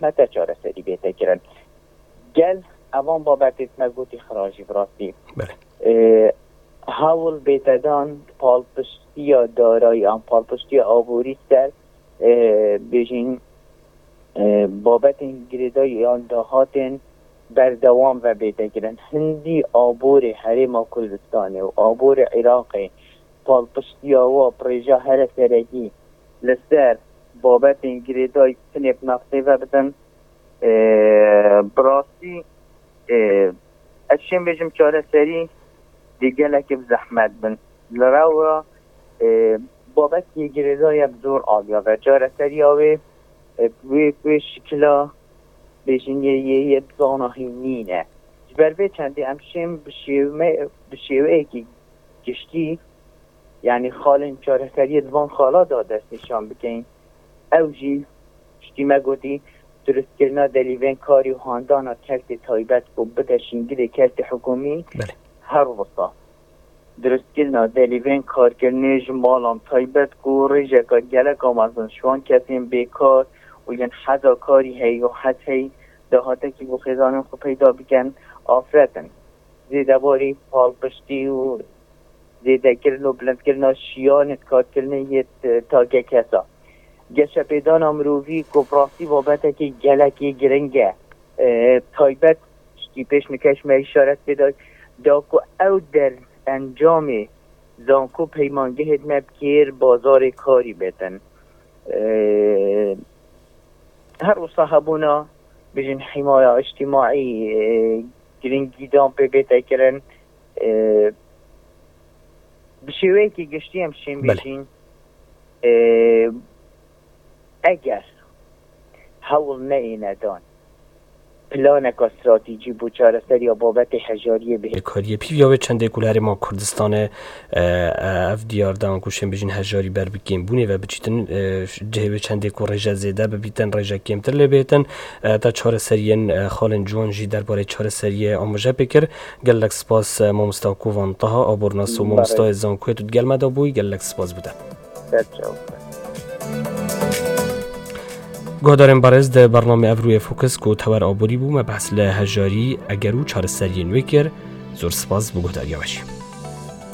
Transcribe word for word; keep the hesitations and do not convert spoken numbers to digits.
hete çareserî bête kirin. Gel evan babetê me gotî xira jî bi rastî. Belê. Ê, hewl bête dan palpiştiya darayî an palpiştiya aborî ser, ê, bêjin, ê, babetên girêdayî an dahatên berdewam ve bête kirin. Hindî aborê Herêma Kurdistanê û aborê Iraqê palpiştiya wa bi rêja here serekî li ser babetên girêdayî tinê bi nefsê ve bidin. Ê, bi rastî, ê, ez şên bêjim çareserî dê gelekî bi zehmet bin. Li rewa, ê, babetê girêdayî bi zor aliya ve. Çareseriya wê, ê, wê, wê şikila bêjin yê, yê, yê bi zana hîn nîne. Ji ber vê çendê em şên bi şêwe-, bi şêweyekî giştî, yanî xalên çareseriyê di van xala de destnîşan bikeyin. Ew jî, piştî me gotî, durustkirina delîvên karî û handana kertê taybet ku bide şîngilê kertê hikûmî. Belê. Her wisa durustkirina delîvên karkirinê ji malan taybet ku rêjeka gelek a mezin ji wan kesên bêkar û yên heza karî heyî û hez heyî dahatekî bo xêzanên xwe peyda bikin, afret in. Zêdebarî palpiştî û zêdekirin û bilindkirina şiyanê karkirinê yê t-, take kesa. Geşepêdana mirovî ku bi rastî babetekî gelekî giring e. E, taybet piştî pêş nikeş me îşaret pê da, da ku ew der encamê zanko peymangehê me bi kêr bazarê karî bêtin. E, her wisa hebûna, bijin hîmaya îctîmaî, e, giringîdan pê bête kirin. E, bi şêweyekî giştî em şên Belê. bêjin, e, eger hewl neyêne dan planeka stratejî bo çareseriya babetê hejariyê bihê. Kariyê pîviya wê çendê ku li Herêma Kurdistanê, e, e, ev diyar dan ku şên bijîn hejarî ber bi kêmbûnê ve biçîtin, e, cihê wê çendê ku rêje zêde bibîtin, rêje kêmtir lê bêtin, e, ta çareseriyên, e, xalên ciwan jî derbarê çareseriyê amaje pê kir. Gelek spas, e, mamosta Kovan Taha, abornas û Belê. mamostayê zankoyê tu digel me de bûyî, gelek spas bû te. Ser çav. Guhdarên berêz, di bernamê Evrûyê Fokus ku tewer aborî bû, me behs li hejarî, eger û çareseriyên wê kir. Zor spas bo guhdariya we jî.